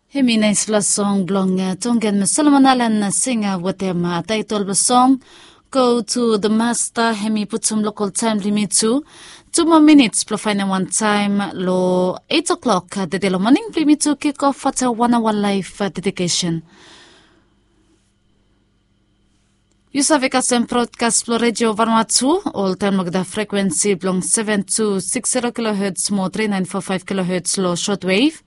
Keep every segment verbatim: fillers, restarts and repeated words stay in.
Hemi naispela song blong tongen mo solomon alan singa watem taitol blong song, go tu the masta. Hemi putum lokol taim blong yumi tu tu moa minits blong fainam wan taim long eit o'klok dede long moning blong yumi tu kikof fata wan awa laif dedikesen. Yu save kasem brodkas blong redio vanua tu oltaim long da frekuensi blong seven two six zero kilohertz mo three nine four five kilohertz long shortwave,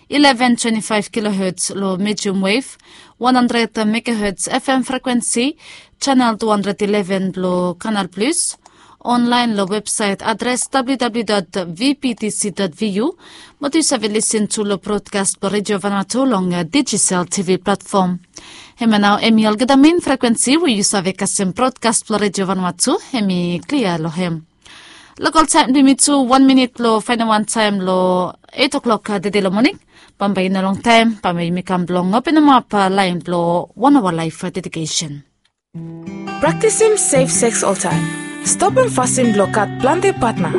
eleven twenty five kilohertz long medium wave, one hundred megahertz fm frekuensi, chanel two hundred eleven blong kanal plus, onlain long websait adres www vptc vu. Mo tu yu save lisin tu long brodkas blong redio vanua tu long digisel tv platfom. Hemia nao em i olgeta mein frekuensi we yu save kasem brodkas blong redio vanua tu em i klia long hem. Lokol taim blong yumi tu wan minit blong fainam wan taim long eit o'klok dede long moning. Bambae i no longtaim bambae yumi kam blong openemap lain blong wan awa laif dedikesen. Praktisim sef seks oltaim. Stopim fasin blong gat plante patna.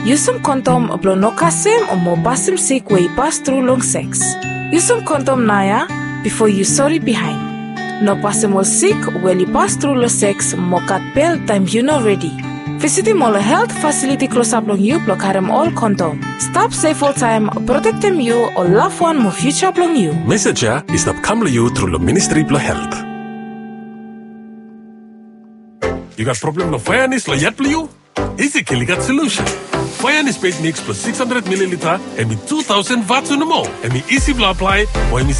Yusim kondom blong no kasem o mo pasim sik we i pas tru long seks. Yusim kondom naoia bifo yu sori bihain. No pasim ol sik we oli pas tru long seks mo gat bel taim yu no redi. Visitim ol helt fasiliti klosap long yu blong karim ol kondom. Stap sef oltaim, protektim yu, ol lafwan mo fiuja blong yu. Mesej ya i stap kam long yu tru long Ministri blong Helt. Yu gat problem long faeanis long yat blong yu? Isi Kil i gat solusen. Faeanis beit miks blong six hundred mililita, em i two thousand vatu nomo. Em i isi blong aplae, o em i